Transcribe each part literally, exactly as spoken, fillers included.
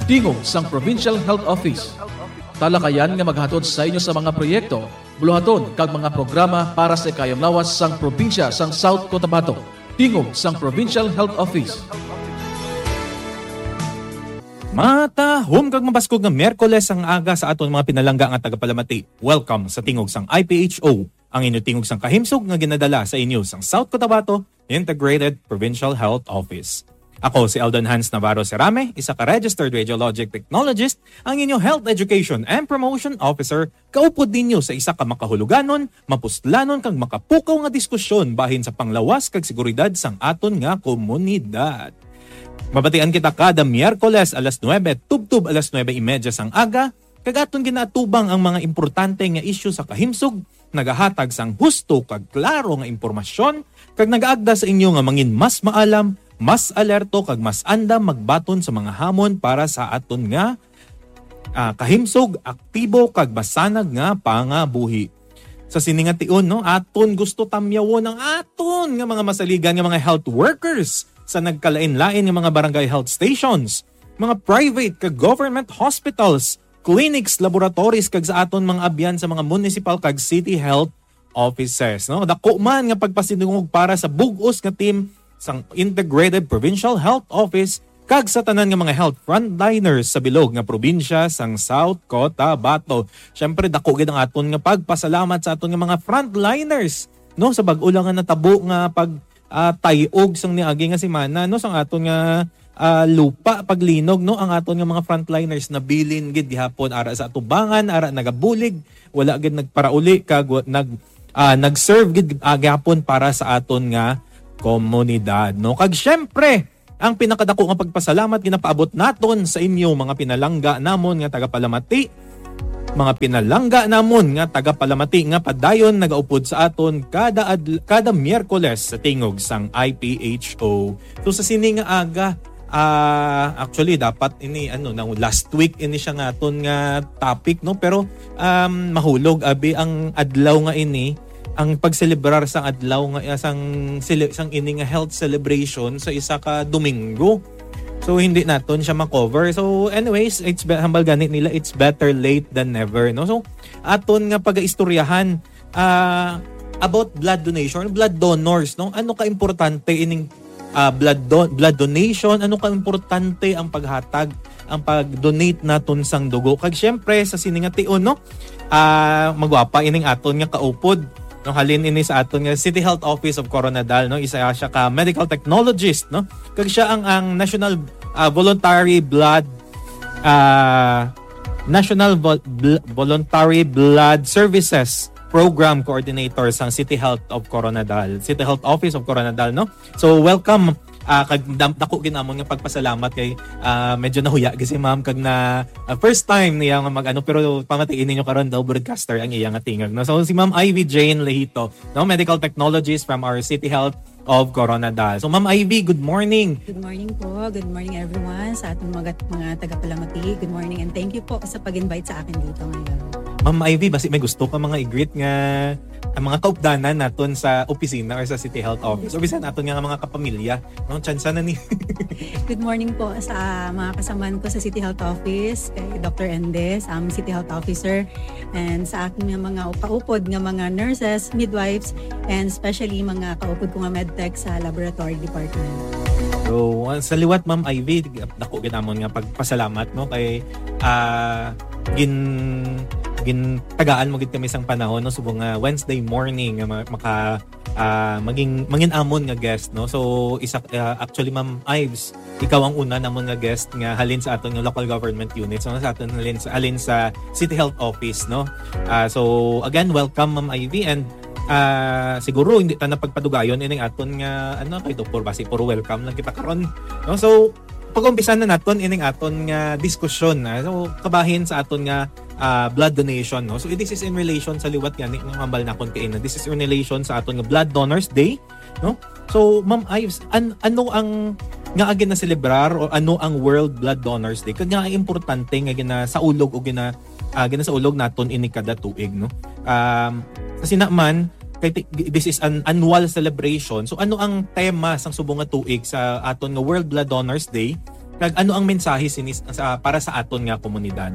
Tingog sang Provincial Health Office. Talakayan nga maghatod sa inyo sa mga proyekto, buluhaton, kag mga programa para sa ikayong lawas sang probinsya sang South Cotabato. Tingog sang Provincial Health Office. Matahom kag mabaskog nga Miyerkules ang aga sa aton mga pinalangga nga tagapalamati. Welcome sa Tingog sang I P H O, ang inyo tingog sang kahimsog nga ginadala sa inyo sang South Cotabato Integrated Provincial Health Office. Ako si Eldon Hans Navarro Serame, isa ka registered radiologic technologist, ang inyo health education and promotion officer, kaupod ninyo sa isa ka makahuluganon, mapuslanon kag makapukaw nga diskusyon bahin sa panglawas kag seguridad sang aton nga komunidad. Mabatian kita kada Miyerkules alas nuebe tubtob alas nuebe y media sang aga, kag aton ginaatubang ang mga importante nga isyu sa kahimsog, nagahatag sang husto kag klaro nga impormasyon, kag nagaagda sa inyo nga mangin mas maalam, mas alerto, kag mas andam magbaton sa mga hamon para sa aton nga, ah, kahimsog, aktibo, kag masanag nga pangabuhi. Sa sini nga tion, no, aton gusto tamyawon ang aton nga mga masaligan nga mga health workers sa nagkalain-lain nga mga barangay health stations, mga private kag government hospitals, clinics, laboratories, kag sa aton mga abyan sa mga municipal kag city health offices, no? Dako man nga pagpasidungog para sa bug-os nga team sang Integrated Provincial Health Office kag sa tanan nga mga health frontliners sa bilog nga probinsya sang South Cotabato. Siyempre, dako gid ang aton nga pagpasalamat sa aton nga mga frontliners, no, sa bag-o lang nga natabo nga pag, ah, tay-og sang niagi nga semana, no, sang aton nga, ah, lupa paglinog, no, ang aton nga mga frontliners nabilin gid gihapon ara sa atubangan, ara nagabulig, wala gid nagparauli kag wa-, nag, ah, nag-serve gid, ah, gihapon para sa aton nga komunidad, no. Kag siyempre, ang pinakadako nga pagpasalamat ginapaabot naton sa inyo, mga pinalangga namon nga tagapalamati, mga pinalangga namon nga tagapalamati nga padayon nagaupod sa aton kada adl-, kada Miyerkules sa tingog sang I P H O. So, sa sini nga aga, ah, actually, dapat ini, ano, na last week ini siya nga aton nga topic, no? Pero, um, mahulog abi ang adlaw nga ini, ang pagselebrar sang adlaw nga, ah, sang sele-, sang ini nga health celebration sa isa ka Domingo. So, hindi naton siya ma-cover. So, anyways, it's be-, hambal gani nila, it's better late than never, no? So, aton nga pagaistoryahan, ah, about blood donation, blood donors, no? Ano ka importante ining, ah, blood don-, blood donation? Ano ka importante ang paghatag, ang pag-donate naton sang dugo? Kag siyempre, sa sini nga tion, no? Ah, magwapa ining aton nga kaupod, no? Halin ini sa aton nga City Health Office of Koronadal, no? Isa siya ka medical technologist, no? Kag siya ang, ang National, ah, Voluntary Blood, ah, National Vol-, Bl-, Voluntary Blood Services Program Coordinator sang City Health of Koronadal, City Health Office of Koronadal, no? So, welcome. Ah, kag dam-, dako gid namon nga pagpasalamat kay, ah, medyo nahuya gid si ma'am kag na, ah, first time niya nga mag-ano, pero pamatiin ninyo karon daw broadcaster ang iya nga tingog, no? So, si Ma'am Ivy Jane Lehito, no, medical technologist from our City Health of Koronadal. So, Ma'am Ivy, good morning. Good morning po. Good morning, everyone, sa ating mga, mga tagapalamati. Good morning and thank you po sa pag-invite sa akin dito ngayon. Ma'am Ivy, basi may gusto ka mga i-greet nga ang mga kaupdanan naton sa opisina or sa City Health Office or bisan aton nga mga kapamilya, no? Tsansa na ni. Good morning po sa mga kasamaan ko sa City Health Office, kay Doctor Endes, ang City Health Officer, and sa aking mga kaupod nga mga nurses, midwives, and especially mga kaupod ko nga medtech sa laboratory department. So, uh, sa liwat, Ma'am Ivy, dako gid namon nga pagpasalamat, no, kay, ah, gin-, gintagaan mo gid kami sang panahon, no, subong nga Wednesday morning nga ma-, maka-, ah, maging, mangin-amon nga guest, no. So, isa, ah, actually, Ma'am Ives, ikaw ang una namon nga guest nga halin sa aton nga local government unit. So, sa aton halin sa, halin sa City Health Office, no. Ah, so, again, welcome, Ma'am Ivy, and, ah, siguro hindi ta na pagpadugayon ining aton nga, ano, kay Doktor, basi puro welcome lang kita karon, no. So, pag-umpisa na naton ining aton nga diskusyon, ah. So, kabahin sa aton nga, ah, blood donation, no. So, this is in relation sa liwat gani nga hambal nakon kaina. This is in relation sa aton nga Blood Donors Day, no. So, Ma'am Ives, an-, ano ang nga ginaselebrar o ano ang World Blood Donors Day? Kag nga importante nga ginasaulog o gina-, ah, ginasaulog naton ini kada tuig, no? Um, kasi naman, kay ti-, this is an annual celebration. So, ano ang tema sang subong nga tuig sa aton nga World Blood Donors Day? Kag ano ang mensahe sini sa, para sa aton nga komunidad?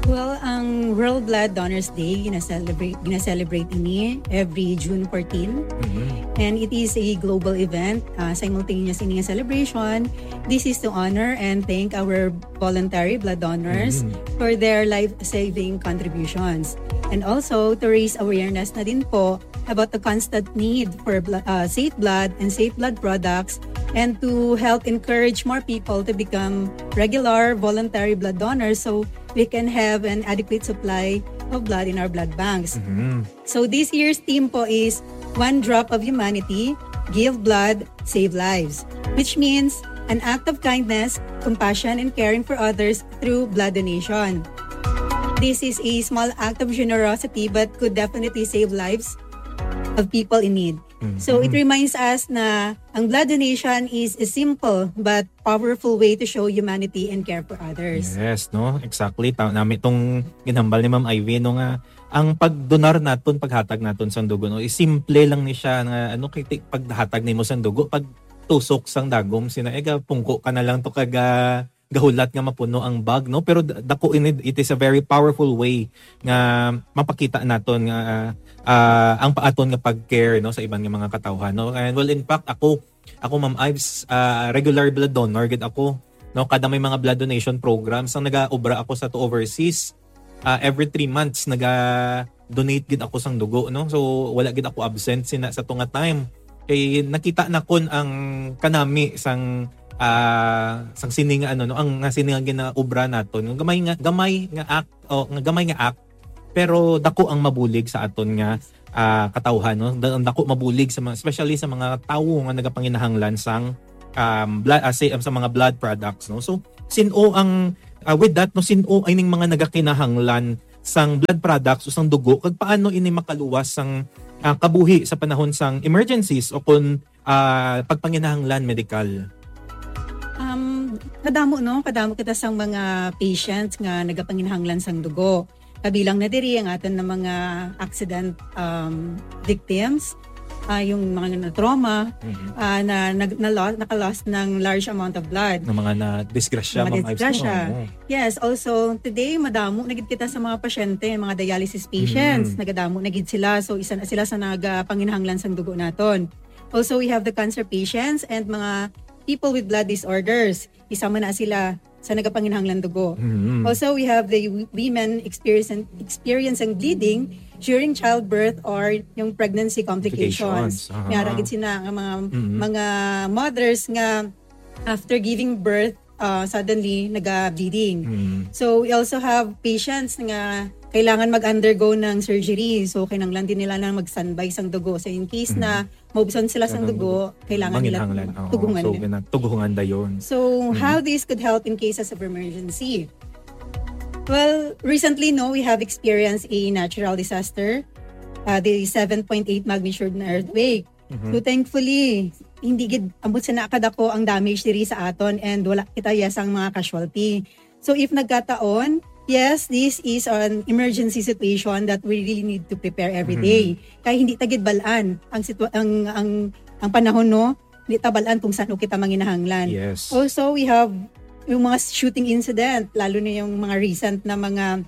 Well, ang World Blood Donors Day, gina-celebrate, gina-celebrate ini every June fourteen. Mhm. And it is a global event. Uh, simultaneous ini nga celebration, this is to honor and thank our voluntary blood donors Mhm. for their life-saving contributions. And also to raise awareness na din po about the constant need for blo- uh, safe blood and safe blood products, and to help encourage more people to become regular voluntary blood donors, so we can have an adequate supply of blood in our blood banks. Mhm. So this year's theme po is "One Drop of Humanity, Give Blood, Save Lives," which means an act of kindness, compassion, and caring for others through blood donation. This is a small act of generosity but could definitely save lives of people in need. Mhm. So it reminds us na ang blood donation is a simple but powerful way to show humanity and care for others. Yes, no? Exactly. Ta nami tong ginhambal ni Ma'am Ivy, no, nga ang pagdonar naton, paghatag naton sang dugo, no, is simple lang ni siya nga, ano, kay ti- paghatag nimo sang dugo, pag tusok sang dagom, sina ega pungko ka na lang to kag ah, gahulat nga mapuno ang bag, no? Pero d- dako ini, it is a very powerful way nga mapakita naton nga ah, ang paaton nga pag-care, no, sa iban nga mga katawhan, no? And well, in fact, ako, ako, Ma'am Ives, ah, regular blood donor gid ako, no? Kada may mga blood donation programs, ang nagaobra ako sa to overseas, ah, every three months naga-donate gid ako sang dugo, no? So wala gid ako absent sina sa tunga time. Kay nakita na kon ang kanami sang ah, sang sini nga ano, no, ang nga sini nga ginaobra naton, nga gamay nga gamay nga act, o nga gamay nga act, pero dako ang mabulig sa aton nga ah, katawhan, no? Da- Ang dako mabulig sa mga, especially sa mga tawo nga nagapanginahanglan sang um, blood, ah, sa, sa mga blood products, no? So sin-o ang ah, with that, no, sin-o ining mga nagakinahanglan sang blood products o sang dugo, kag paano ini makaluwas sang ah, kabuhi sa panahon sang emergencies o kon ah, pagpanginahanglan medikal? Um, kadamo, no? Kadamo kita sang mga patients nga nagapanginahanglan sang dugo. Kabilang na diri ang aton na mga accident um, victims, ah, yung mga na-trauma, Mhm. ah, na nag- na-lo- naka-lost ng large amount of blood. Ng mga na disgrasya, Mga Ma'am Ives, no? disgrasya. Oo. Yes, also today madamo na gid kita sa mga pasyente, mga dialysis patients, Mm. nagadamo na gid sila. So isa na sila sa nagapanginahanglan sang dugo naton. Also we have the cancer patients and mga people with blood disorders. Isa man na sila sa nagapanginahanglan dugo. Mhm. Also, we have the w- women experiencing experiencing bleeding during childbirth or yung pregnancy complications. Complications, aha. May ara gid sila nga mga Mhm. mga mothers nga after giving birth uh, suddenly naga-bleeding. Mhm. So we also have patients nga kailangan mag-undergo ng surgery. So kinahanglan din nila na mag-standby sang dugo. So in case na maubsan sila sang Kailangan dugo, kailangan nila Manginahanglan. Oo. tugungan. So gina- tuguhungan dayon. So, how this could help in cases of emergency? Well, recently, no, we have experienced a natural disaster, uh, the seven point eight magnitude na earthquake. Mhm. So, thankfully, hindi gid ambot sa nakadako ang damage diri sa aton and wala kita yasang mga casualty. So, if nagkataon, yes, this is an emergency situation that we really need to prepare every Mhm. day. Kay hindi ta gid balaan ang sitwa- ang ang ang panahon, no, hindi ta balaan kung saan kita manginahanglan. Yes. Also, we have yung mga shooting incident, lalo na yung mga recent na mga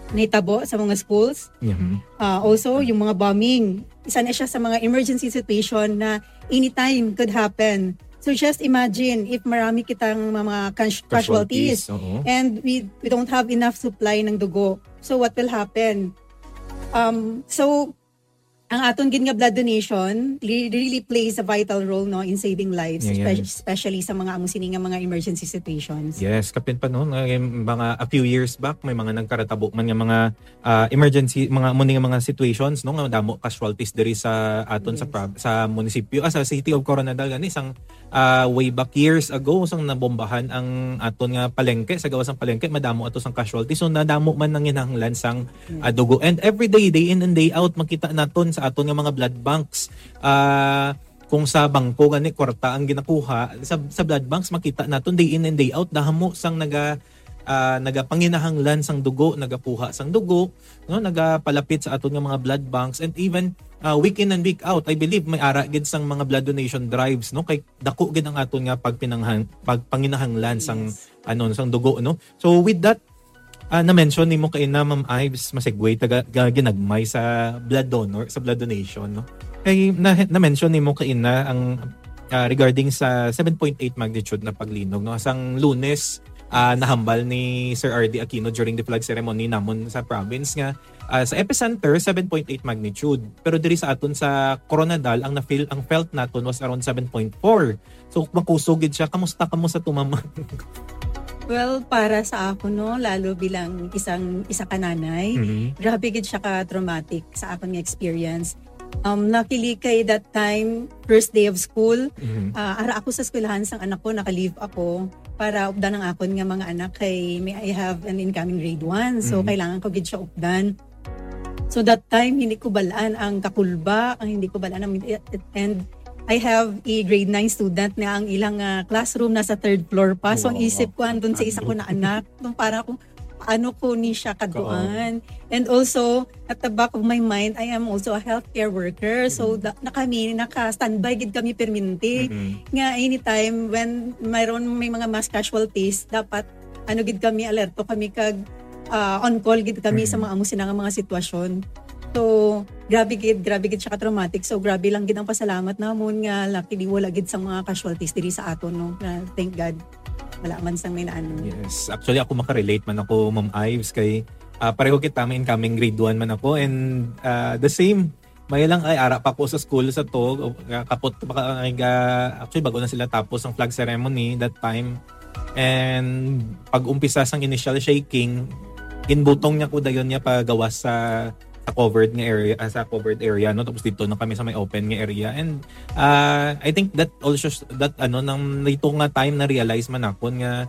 nahitabo sa mga schools. Mhm. Ah, also, yung mga bombing, isa na siya sa mga emergency situation na anytime could happen. So just imagine if marami kitang mga cas- casualties, Oo. and we we don't have enough supply ng dugo. So what will happen? Um, so ang aton gid nga blood donation li- really plays a vital role, no, in saving lives, Yeah, yeah. espe- especially sa mga amo sini nga mga emergency situations. Yes, kapin pa, no, nga yung mga a few years back may mga nagkaratabo man nga mga ah, emergency, mga amo ni nga mga situations, no, nga damo casualties diri sa aton sa Yes. prob- sa munisipyo, ah, sa City of Koronadal gani sang ah, way back years ago sang nabombahan ang aton nga palengke, sa gawas sang palengke madamo ato sang casualties. So nadamo man nanginahanglan sang Yes. ah, dugo. And every day, day in and day out, makita naton sa aton nga mga blood banks. Ah, kung sa bangko gani kwarta ang ginakuha, sa, sa blood banks makita naton day in and day out damo sang naga ah, nagapanginahanglan sang dugo, nagakuha sang dugo, no, nagapalapit sa aton nga mga blood banks, and even, ah, week in and week out, I believe may ara gid sang mga blood donation drives, no, kay dako gid ang aton nga pagpinanghang-, pagpanginahanglan sang, Yes. ano, sang dugo, no. So with that, ah, na-mention nimo kaina, Ma'am Ives, masegue ta ga-, ga-, ginagmay sa blood donor, sa blood donation, no. Kay na, na-mention nimo kaina ang, ah, regarding sa seven point eight magnitude na paglinog, no. Sang Lunes, ah, nahambal ni Sir R D Aquino during the flag ceremony namon sa province nga, ah, sa epicenter, seven point eight magnitude. Pero diri sa aton sa Koronadal, ang na-feel, ang felt naton was around seven point four. So, makusog gid siya. Kamusta kamo sa tumama? Well, para sa ako, no, lalo bilang isang, isa ka nanay, Mhm. grabe gid siya ka-traumatic sa akon nga experience. Um, luckily, kay that time, first day of school, Mhm. ah, ara ako sa eskwelahan sang anak ko, naka-leave ako para updan ang akon nga mga anak kay may, I have an incoming grade one. So, Mhm. kailangan ko gid siya updan. So, that time, hindi ko balaan ang kakulba, ang hindi ko balaan ang, and I have a grade nine student na ang ilang, ah, classroom nasa third floor pa. So, ang Wow. isip ko, andun sa isa ko na anak. Nung para kung paano ko ni siya kaduan. And also, at the back of my mind, I am also a healthcare worker. So, Mm. da-, na kami, naka-standby gid kami permanente. Mm-mm. Nga anytime when mayroon may mga mass casualties, dapat ano gid kami, alerto kami kag, ah, on call gid kami sa Mm. mga amo sina nga mga sitwasyon. So, grabe gid, grabe gid siya ka-traumatic. So, grabe lang gid ang pasalamat namon nga luckily wala gid sa mga casualties diri sa aton, no? Na, thank God. Wala man sang may naano. Yes. Actually, ako makarelate man ako, Ma'am Ives, kay, ah, pareho kita, may incoming grade one man ako, and, ah, the same. May lang, ay, ara pa ko sa school sa to, o, ah, kapot pa ka, ay, ga-, actually, bago na sila tapos ang flag ceremony that time. And pag-umpisa sang initial shaking, ginbutong niya ko dayon niya pagawas sa, sa covered nga area, ah, sa covered area, no? Tapos dito na kami sa may open nga area. And, ah, I think that also, that, ano, nang dito nga time na-realize man ako nga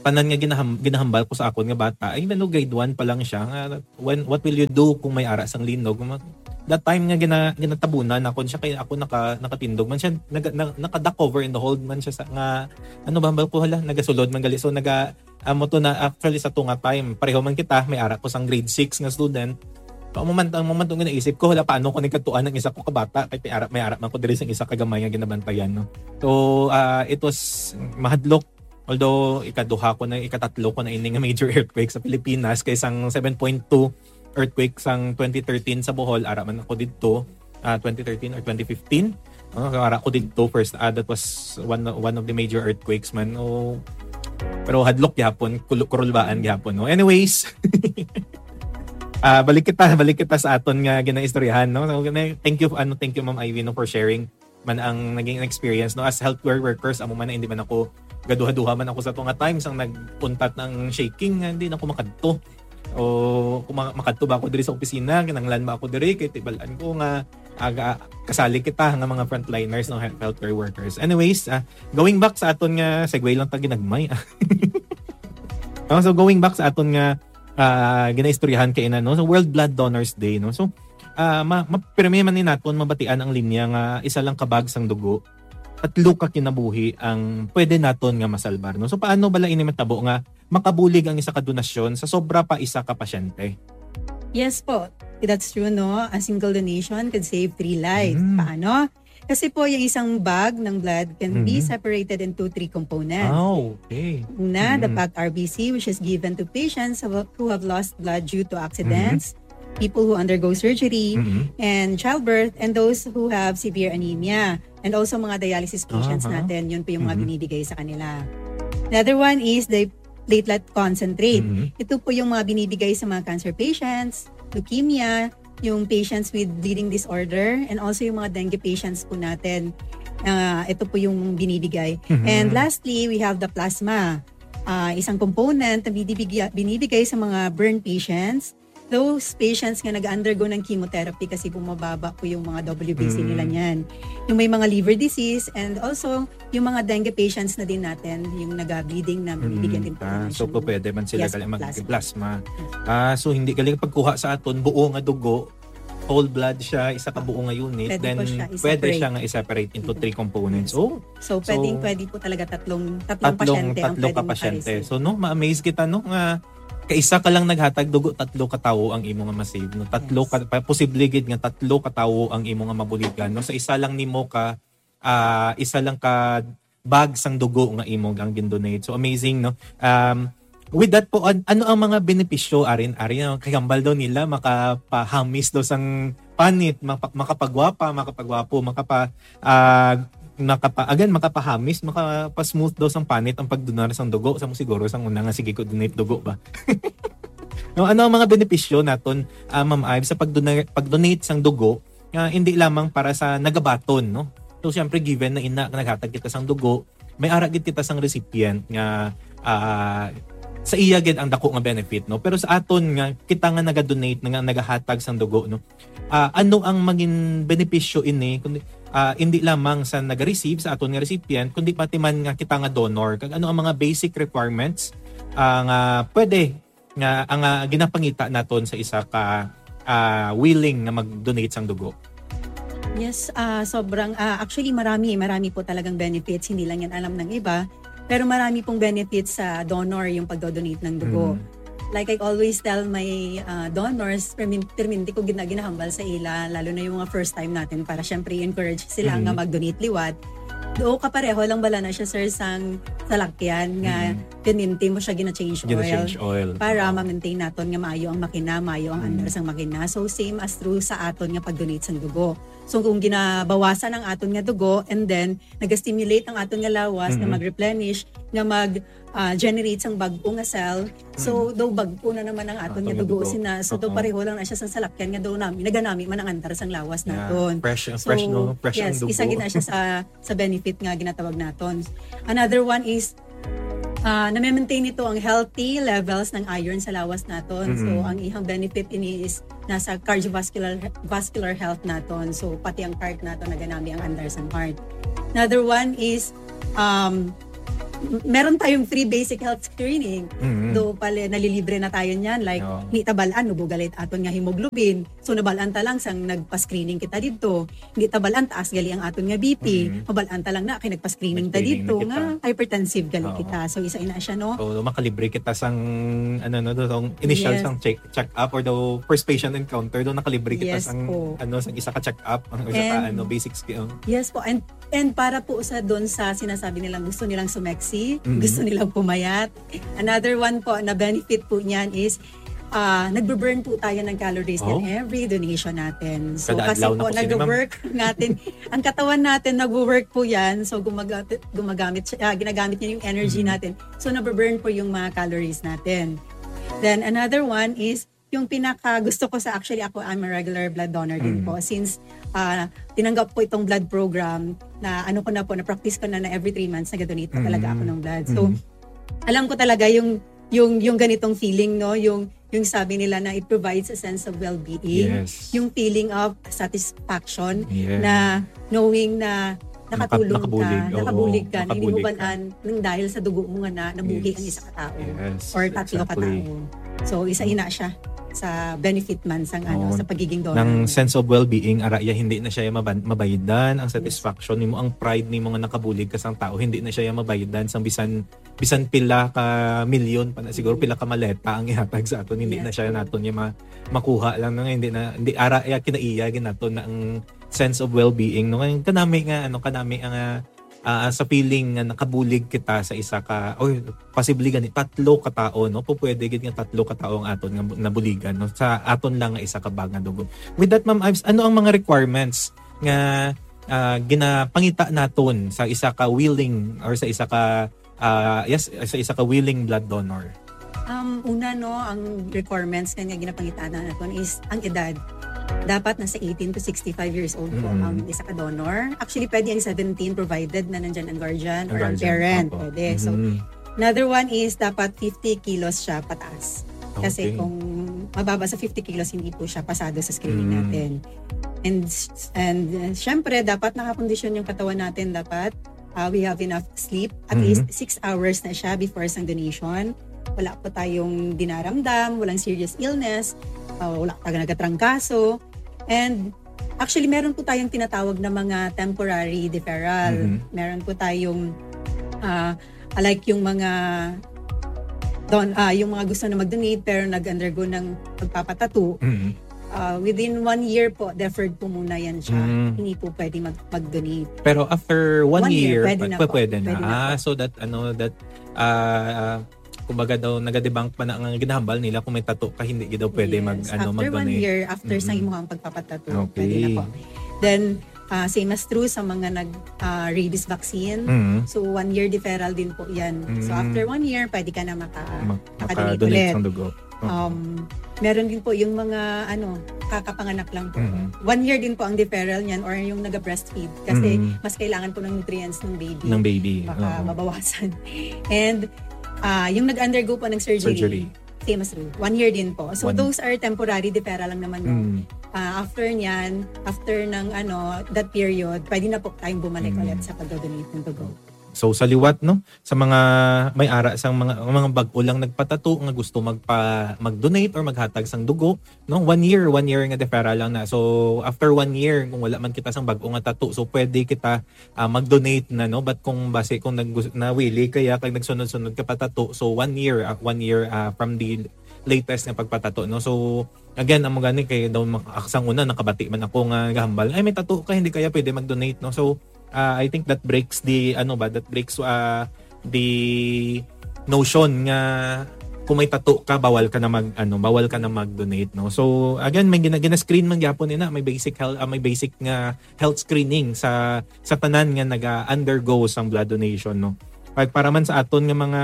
tanan nga ginaham-, ginahambal ko sa akon nga bata, even though grade one pa lang siya, nga when, what will you do kung may ara sang linog? Ma-, that time nga gina-, ginatabunan ako siya, kay ako naka-, nakatindog man siya, naga-, na-, naka-duck over in the hold man siya sa, nga, ano ba, hambal ko, hala, nagasulod man gali. So, naga-, amo to na, actually, sa to nga time, pareho man kita, may ara ko sang grade six nga student. Ang moment, ang moment nga naisip ko, hala, paano ko nagkatuan ang isa ko ka bata? Kay may ara, may ara man ko diri sang isa ka gamay nga ginabantayan, no? So, ah, it was mahadlok. Although, ikaduha ko na, ikatatlo ko na ini nga major earthquake sa Pilipinas, kay sang seven point two earthquake sang twenty thirteen sa Bohol, ara man ako didto, ah, twenty thirteen or twenty fifteen. Ah, ara ko didto first, ah, that was one, one of the major earthquakes man. Oh, pero hadlok gihapon, kul-, kurulbaan gihapon, no? Anyways, ah, balik kita, balik kita sa aton nga ginaistoryahan, no? So, gina-, thank you, ano, thank you, Ma'am Ivy, no, for sharing man ang naging experience, no, as healthcare workers, amo man na, hindi man ako, gaduha-duha man ako sa to nga time sang nagpuntat ng shaking, nga hindi na ako makadto. O kung ma-, makadto ba ako diri sa opisina, kinahanglan ba ako diri, kay tibalan ko nga aga, kasali kita nga mga frontliners, no, health-, healthcare workers. Anyways, ah, going back sa aton nga segue lang ta ginagmay. No, so going back sa aton nga, ah, ginaistoryahan kay ina, no, so World Blood Donors Day, no, so ah, ma-, ma-, pirmi man ni naton mabatian ang linya nga isa lang ka bag sang dugo, tatlo ka kinabuhi ang pwede naton nga masalbar, no? So, paano bala ini matabo nga makabulig ang isa ka donasyon sa sobra pa isa ka pasyente? Yes po. That's true, no? A single donation could save three lives. Mm. Paano? Kasi po, yung isang bag ng blood can be Mhm. separated into three components. Ah, okay. Una, the Mhm. packed R B C, which is given to patients who, who have lost blood due to accidents, Mhm. people who undergo surgery, Mhm. and childbirth, and those who have severe anemia, and also mga dialysis patients Aha. natin, yun po yung mga Mhm. binibigay sa kanila. Another one is the platelet concentrate. Mhm. Ito po yung mga binibigay sa mga cancer patients, leukemia, yung patients with bleeding disorder, and also yung mga dengue patients po natin. Ah, ito po yung binibigay. Mhm. And lastly, we have the plasma. Ah, isang component na binibigya-, binibigay sa mga burn patients, those patients nga nag-undergo ng chemotherapy kasi bumababa po yung mga W B C nila Mm. niyan. Yung may mga liver disease and also yung mga dengue patients na din natin, yung naga-bleeding na Mm. binibigyan din po ng Ah, so, medicine. Pwede man sila Yes, gali mag-, plasma. Plasma. Yes. Ah, so hindi gali pagkuha sa aton buo nga dugo, whole blood siya, isa ka buo nga unit, Pwede then po siya pwede siya i-separate. nga i-separate into three components. Yes. Oh, So, pwedeng So, pwede po talaga tatlong, tatlong, tatlong pasyente ang tatlo ka pwedeng pasyente. makareceive. So no, ma-amaze kita, no, nga kaisa ka lang naghatag dugo, tatlo ka tawo ang imo nga ma-save, no? Tatlo Yes. ka pa, posible gid nga tatlo ka tawo ang imo nga mabuligan, no? Sa isa lang nimo ka ah, isa lang ka bag sang dugo nga imo ang gindonate. So amazing, no? Um, with that po, an- ano ang mga benepisyo arin, arin ang kagambal daw nila, makapahamis daw sang panit, mapa- makapagwapa, makapagwapo, makapa ah, makapa again, makapahamis, makapa-smooth daw sang panit ang pagdonar sang dugo. Sa mo siguro sang una nga sige ko donate dugo ba? No, ano ang mga benepisyo naton, ah, Ma'am Ives, sa pagdona- pag-donate sang dugo nga hindi lamang para sa nagabaton, no? So siyempre, given na ina nga naghatag kita sang dugo, may ara gid kita sang recipient nga ah, sa iya gid ang dako nga benefit, no? Pero sa aton nga kita nga naga-donate, nga nagahatag sang dugo, no? Ah, ano ang maging benepisyo ini kundi ah, hindi lamang sa naga-receive, sa aton nga recipient, kundi pati man nga kita nga donor? Kag ano ang mga basic requirements ah, nga pwede nga ang ah, ginapangita naton sa isa ka ah, willing nga mag-donate sang dugo? Yes, ah sobrang ah, actually marami, marami po talagang benefits, hindi lang yan alam ng iba. Pero marami pong benefits sa donor yung pagdodonate ng dugo. Mm. Like I always tell my ah, donors, permin- perminti ko gina ginahambal sa ila, lalo na yung mga first time natin, para syempre i-encourage sila Mm. nga mag-donate liwat. Do kapareho lang bala na siya, sir, sang salakyan nga Mm. perminti mo siya gina-change oil Gina-change oil. para Oo. ma-maintain naton nga maayo ang makina, maayo ang Mm. andar sang makina. So same as true sa aton nga pag-donate sang dugo. So kung ginabawasan ang aton nga dugo and then naga-stimulate ang aton nga lawas nga Mhm. mag-replenish, nga mag ah, generate sang bag-o nga cell. So daw bag-o na naman ang aton Aton nga nga dugo, dugo. Sina, so daw Oo. Pareho lang na siya sang salakyan nga daw nami naganami man ang andar sang lawas Yeah. naton. Fresh, So, fresh, no? Fresh ang yes, dugo. Isa gid na siya sa sa benefit nga ginatawag naton. Another one is ah na-maintain nito ang healthy levels ng iron sa lawas naton. So Mm. ang ihang benefit ini is nasa cardiovascular vascular health naton. So pati ang heart naton naganami ang andar sang heart. Another one is um m- meron tayong free basic health screening. Mm. Do pala nalilibre na tayo niyan, like Oo. hindi ta bal-an, nubo galit aton nga hemoglobin. So nabal-an ta lang sang nagpa-screening kita didto. Hindi ta bal-an taas gali ang aton nga B P. Mm. Mabal-an ta lang na kay nagpa-screening ta Nag-screening didto na kita. Nga hypertensive gali Oo. kita. So isa ina siya, no? So, makalibre kita sang ano, no, do, sang initial Yes. sang check check up or the first patient encounter, do nakalibre kita Yes sang po. Ano, sang isa ka check up, ang isa ka And- ano, basic skill. Yes po. And and para po sa doon sa sinasabi nilang gusto nilang sumeksi, Mhm. gusto nilang pumayat. Another one po na benefit po niyan is ah nagbe-burn po tayo ng calories Oh. Yan every donation natin. So Kada kasi adlaw na po po sila, ma'am. nagwo-work natin, ang katawan natin nagwo-work po yan. So gumagamit, gumagamit, siya- ah, ginagamit niya yung energy Mhm. natin. So nabe-burn po yung mga calories natin. Then another one is yung pinaka gusto ko sa, actually ako, I'm a regular blood donor din Mhm. po. Since ah tinanggap po itong blood program na ano ko na po, na-practice ko na na every three months nag-donate pa talaga Mhm. Ako ng blood. So Mhm. alam ko talaga yung yung yung ganitong feeling, no, yung yung sabi nila na it provides a sense of well-being, Yes. Yung feeling of satisfaction Yeah. na knowing na nakatulong Naka- nakabulig, ka, oo, nakabulig ka, hindi mo nakabulig ka. Balaan ng dahil sa dugo mo nga na nabuhi Yes. Ang isa ka tao Yes, or tatlo ka exactly. Tao. So isa ina siya sa benefit man sang ano Oo. Sa pagiging donor. Nang Mo. Sense of well-being, ara iya hindi na siya maban- mabaydan ang satisfaction nimo, ang pride nimo nga nakabulig ka sang tao, hindi na siya mabaydan sang bisan bisan pila ka milyon pa na siguro, Mm. pila ka maleta ang ihatag sa aton, hindi na Yes, siya po. Naton niya ma- makuha lang na nga, hindi na, hindi ara iya kinaiya ginaton na ang sense of well-being, no? Kay kanami nga, ano, kanami ang ah, ah, sa feeling nga nakabulig kita sa isa ka, or possibly gani tatlo ka tao, no? Pu- pwede gid nga tatlo ka tao ang aton nga bu- nabuligan, no? Sa aton lang nga isa ka bag nga dugo. With that, Ma'am Ives, ano ang mga requirements nga ah, ginapangita naton sa isa ka willing or sa isa ka ah, yes, sa isa ka willing blood donor? Um, una, no, ang requirements nga, nga ginapangitaan naton is ang edad. Dapat nasa eighteen to sixty-five years old po Mm. Ang isa ka donor. Actually, pwede ang seventeen provided na nandyan ang guardian Ang or ang guardian, parent. opo. Pwede. So, Mhm. another one is dapat fifty kilos siya pataas. Kasi Okay. Kung mababa sa fifty kilos, hindi po siya pasado sa screening Mm. Natin. And and uh, syempre, dapat nakakondisyon yung katawan natin. Dapat uh, we have enough sleep. At Mhm. least six hours na siya before sang donation. Wala po tayong dinaramdam, walang serious illness, uh, wala tayo nagatrangkaso. And actually, meron po tayong tinatawag na mga temporary deferral. Mhm. Meron po tayong, ah, like yung mga don, ah, yung mga gusto na mag-donate pero nag-undergo ng pagpapatato. Mhm. Ah, within one year po, deferred po muna yan siya. Mm. Hindi po pwede mag- mag-donate. Pero after one, One year, year, pwede pwe- na pwe- po. pwede na. Pwede na Ah, po. So that ano that ah kumbaga daw nagadebunk pa na ang ginahambal nila kung may tato ka hindi gid daw pwede Yes. mag ano After one mag-donate. year, after sa Mhm. imuhang pagpapatato, Okay. pwede na po. Then, ah, same as true sa mga nag ah, rabies vaccine. Mhm. So, one year deferral din po yan. So, Mm. after one year, pwede ka na maka, Ma- makadonate Maka-donate ulit. Sang dugo. Oo. Um, meron din po yung mga ano, kakapanganak lang po. Mhm. One year din po ang deferral niyan or yung nag-breastfeed kasi Mhm. mas kailangan po ng nutrients ng baby. Ng baby. Baka Oo. mabawasan. And ah, yung nag-undergo po ng surgery, Surgery. same as you. One year din po. So One- those are temporary deferral lang naman. No? Mm. Ah, after niyan, after ng ano, that period, pwede na po tayong bumalik Mm. ulit sa pag-donate ng dugo. So sa liwat no, sa mga may ara sang mga mga bag-o lang nagpatato nga gusto magpa mag-donate or maghatag sang dugo, no, one year, one year nga deferral lang na. So after one year kung wala man kita sang bag-o nga tato, so pwede kita ah, mag-donate na, no? But kung base kung nag nawili kaya kag nagsunod-sunod ka patato, so one year, ah, one year ah, from the latest nga pagpatato, no? So again, amo gani kay daw mak- sang una nakabati man ako nga gahambal, ay may tato ka, hindi kaya pwede mag-donate, no? So ah, I think that breaks the ano ba, that breaks ah, the notion nga kung may tato ka, bawal ka na mag ano, bawal ka na mag-donate, no? So again, may gina, gina-screen man gyapon ina, may basic health ah, may basic nga health screening sa sa tanan nga naga-undergo sang blood donation, no? Pag para man sa aton nga mga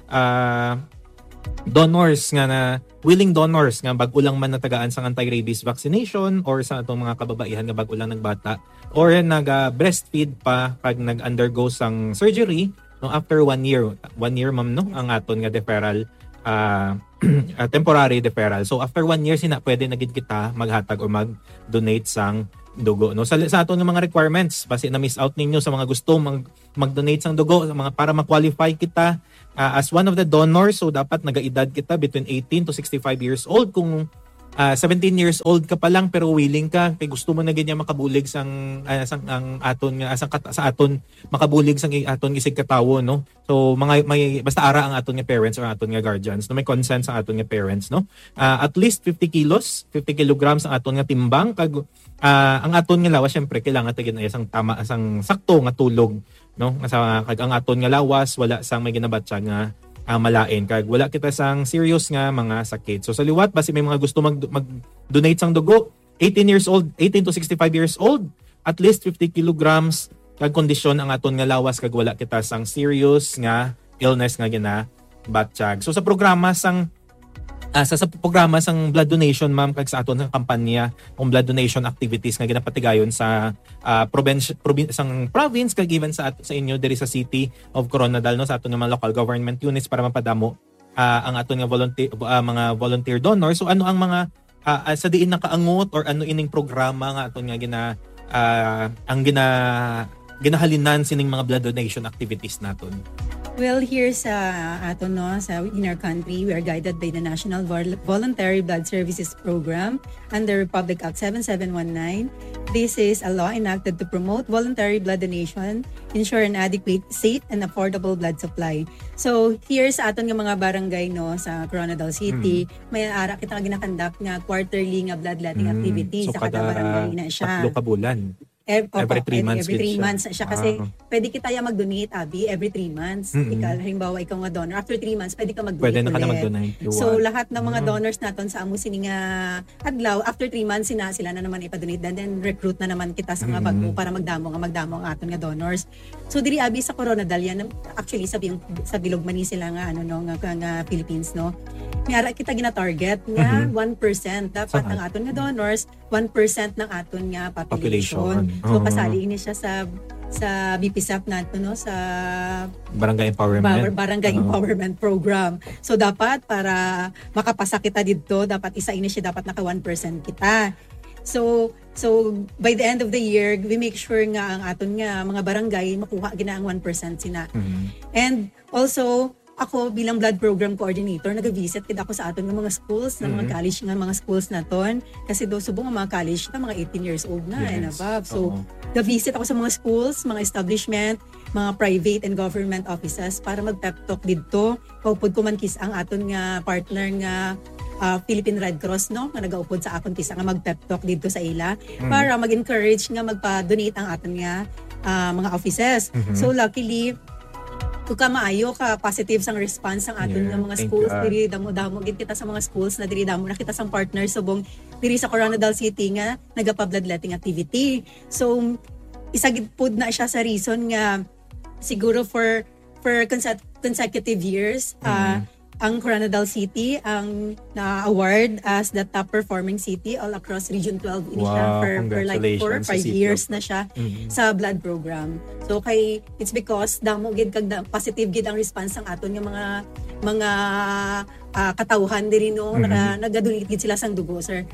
ah, donors nga na willing donors nga bag-o lang man natagaan sang anti-rabies vaccination or sa atong mga kababaihan nga bag-o lang nagbata or naga-breastfeed pa kag nag-undergo sang surgery, no, after one year, one year, ma'am, no, ang aton nga deferral ah, ah, temporary deferral. So after one year sina pwede na gid kita maghatag o mag-donate sang dugo, no? Sa, sa aton nga mga requirements, basi na miss out ninyo sa mga gusto mag mag-donate sang dugo, sa mga para ma-qualify kita ah, as one of the donors, so dapat nagaedad kita between eighteen to sixty-five years old. Kung ah, seventeen years old ka pa lang pero willing ka kay gusto mo na gid niya makabulig sang ah, sang ang aton nga sang kat- sa aton makabulig sang i- aton isig katawo, no? So mga may basta ara ang aton nga parents or aton nga guardians, no, may consent sa aton nga parents, no? Ah, at least fifty kilos, fifty kilograms ang aton nga timbang kag ah, ang aton nga lawas syempre kailangan ta gid sang tama sang sakto nga tulog, no? Nga sa kag ang aton nga lawas wala sang may ginabatya nga ah, malain kag wala kita sang serious nga mga sakit. So sa liwat basi may mga gusto mag mag-donate sang dugo, eighteen years old, eighteen to sixty-five years old, at least fifty kilograms kag kondisyon ang aton nga lawas kag wala kita sang serious nga illness nga ginabatyag. So sa programa sang ah, sa, sa programa sang blood donation, ma'am, kag sa aton nga kampanya kung blood donation activities nga ginapatigayon sa ah, probinsya, probin- sang province kag even sa at- sa inyo diri sa City of Koronadal, no, sa aton nga mga local government units para mapadamo ah, ang aton nga volunteer ah, mga volunteer donors. So ano ang mga ah, ah, sa diin nakaangot or ano ining programa nga aton nga gina ah, ang gina ginahalinan sining mga blood donation activities naton? Well, here sa aton, no, sa in our country, we are guided by the National Vol- Voluntary Blood Services Program under Republic Act seven seven one nine. This is a law enacted to promote voluntary blood donation, ensure an adequate, safe, and affordable blood supply. So, here sa aton nga mga barangay, no, sa Koronadal City, may ara kita nga ginakandak nga quarterly nga bloodletting Mm. activity So, sa kada kada barangay na siya. Tatlo ka bulan. Ev- opo, Every three pwede months every gid three siya. Months na siya kasi Ah. Pwede kita ya mag-donate, abi, every three months. Mm-mm. Ikaw, halimbawa, ikaw nga donor, after three months, pwede ka mag-donate Pwede na ka na ulit. mag-donate. So, lahat ng mga Mm. donors naton sa amo sini nga adlaw, after three months, sina, sila na naman ipadonate. Then, then recruit na naman kita sa mga Mm-mm. bago para magdamo nga magdamo ang aton nga donors. So, diri abi sa Corona Dalian, actually, sa, Bi- sa Bilog man ni sila nga, ano, no, nga, nga, nga Philippines, no? May ara kita gina-target nga Mhm. one percent. Dapat Saan? Ang aton nga donors, one percent ng aton nga population. Population. So, Oo. Kasali ini siya sa sa B P S A P nato, no, sa Barangay empowerment. Bar- Barangay Oo. Empowerment Program. So, dapat para makapasa kita didto, dapat isa ini siya, dapat naka one percent kita. So, so by the end of the year, we make sure nga ang aton nga mga barangay makuha gina ang one percent sina. Mhm. And also, ako bilang blood program coordinator, nag-visit gid ako sa aton nga mga schools, na mga Mhm. college nga mga schools naton. Kasi daw subong ang mga college na mga eighteen years old na and Yes. above. So, Oo. ga-visit ako sa mga schools, mga establishment, mga private and government offices para mag-pep talk didto. Kaupod ko man kis ang aton nga partner nga, ah, Philippine Red Cross, no, nga nagaupod sa akon kis nga mag-pep talk didto sa ila Mm. para mag-encourage nga magpa-donate ang aton nga, ah, mga offices. Mhm. So, luckily, kung ka maayo, ka positive sang response sang aton Yeah, nga mga thank schools God. Diri, damo-damo gid kita sa mga schools na diri, damo na kita sang partners subong diri sa Koronadal City nga nagapa-bloodletting activity. So, isa gid pud na siya sa reason nga siguro for, for conse-, consecutive years, ah, Mm. ang Koronadal City ang na-award as the top performing city all across Region twelve. Ini siya Wow, for, for, like, four, congratulations sa five City years of na siya Mm. sa blood program. So, kay, it's because damo gid kag da-, positive gid ang response sang aton nga mga, mga, ah, katawhan diri, no? Mm. Naka-, nagadonate gid sila sang dugo, sir.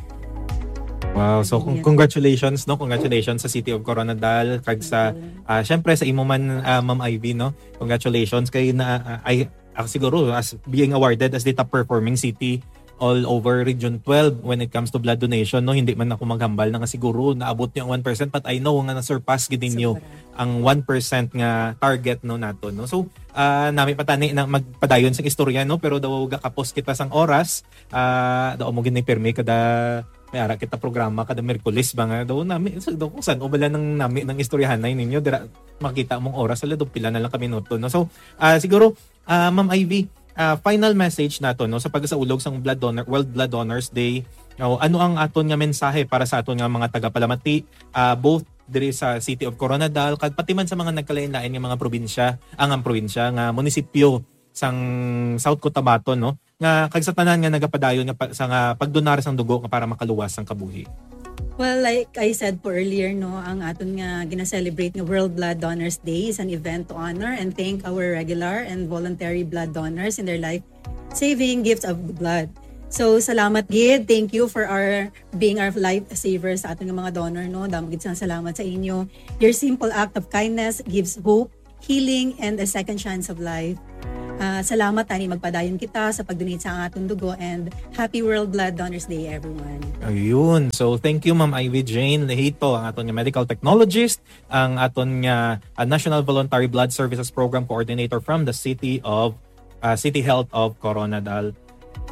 Wow, so, con-, Yes. congratulations, no? Congratulations sa City of Koronadal, kag sa, Thank you. ah, syempre sa imo man, ah, Ma'am Ivy, no? Congratulations kay na, ah, ay, ah, siguro as being awarded as the top performing city all over Region twelve when it comes to blood donation, no? Hindi man ako maghambal na nga siguro naabot niyo ang one percent, but I know nga na-surpass gid ninyo Sobra. ang one percent nga target, no, nato, no? So, ah, nami pa tani na magpadayon sang istorya, no? Pero daw gakapos kita sang oras, ah, daw mo gid ni pirmi kada may ara kita programa kada Miyerkules ba nga daw nami, so, daw kung san-o bala nang nami nang istoryahanay ninyo, dira makita mong oras, ala, daw pila na lang ka minuto, no? So, ah, siguro, ah, Ma'am Ivy, ah, final message nato, no, sa pagsaulog sang Blood Donor, World Blood Donors Day. No, ano ang aton nga mensahe para sa aton nga mga tagapalamati, ah, both diri sa City of Coronadal kag pati man sa mga nagkalain-lain nga mga probinsya, ang, ang probinsya nga munisipyo sang South Cotabato, no? Nga kag sa tanan nga nagapadayon nga pa, sa nga pagdonar sang dugo nga para makaluwas sang kabuhi. Well, like I said po earlier, no, ang aton nga gina-celebrate nga World Blood Donors Day is an event to honor and thank our regular and voluntary blood donors in their life-saving gifts of blood. So, salamat gid. Thank you for our being our lifesavers sa aton nga mga donor, no. Damo gid sang salamat sa inyo. Your simple act of kindness gives hope, healing, and a second chance of life. Ah, salamat, tani magpadayon kita sa pag-donate sa aton dugo, and happy World Blood Donors Day, everyone. Ayun. So, thank you, Ma'am Ivy Jane Lehito, ang aton nga medical technologist, ang aton nga, ah, National Voluntary Blood Services Program Coordinator from the City of, ah, City Health of Coronadal.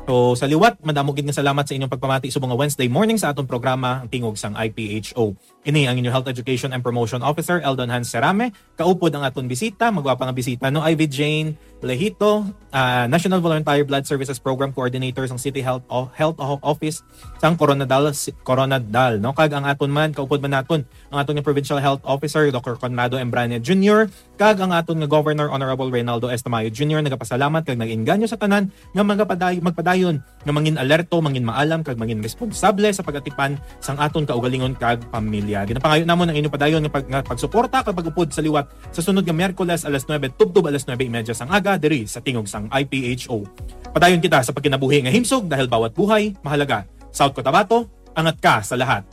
So, sa liwat, madamo gid nga salamat sa inyong pagpamati subong nga Wednesday morning sa aton programa, Ang Tingog sang I P H O. Ini ang inyo Health Education and Promotion Officer, Eldon Hans Serame. Kaupod ang aton bisita, magwapa nga bisita, no? Ivy Jane Lehito, ah, National Volunteer Blood Services Program Coordinator sang City Health O-, Health O-, Office sang Coronadal, si-, Coronadal, no? Kag ang aton man, kaupod man naton ang aton nga Provincial Health Officer, Doctor Conrado Embrania Junior, kag ang aton nga Governor, Honorable Reynaldo S. Tamayo Junior, nagapasalamat kag nag-inganyo sa tanan nga magapaday-, magpadayon nga mangin alerto, mangin maalam, kag mangin responsable sa pag-atipan sang aton kaugalingon kag pamilya. Ginapangayo namon ang inyo padayon nga pag-, nga pagsuporta kag pag-upod sa liwat sa sunod nga Miyerkules, alas nuebe tubtob alas nuebe y media sang aga, diri sa Tingog sang I P H O. Padayon kita sa pagkinabuhi nga himsog, dahil bawat buhay mahalaga. South Cotabato, angat ka sa lahat.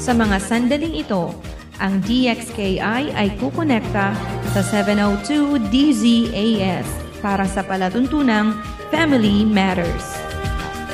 Sa mga sandaling ito, ang D X K I ay kukonekta sa seven oh two D Z A S para sa palatuntunang Family Matters.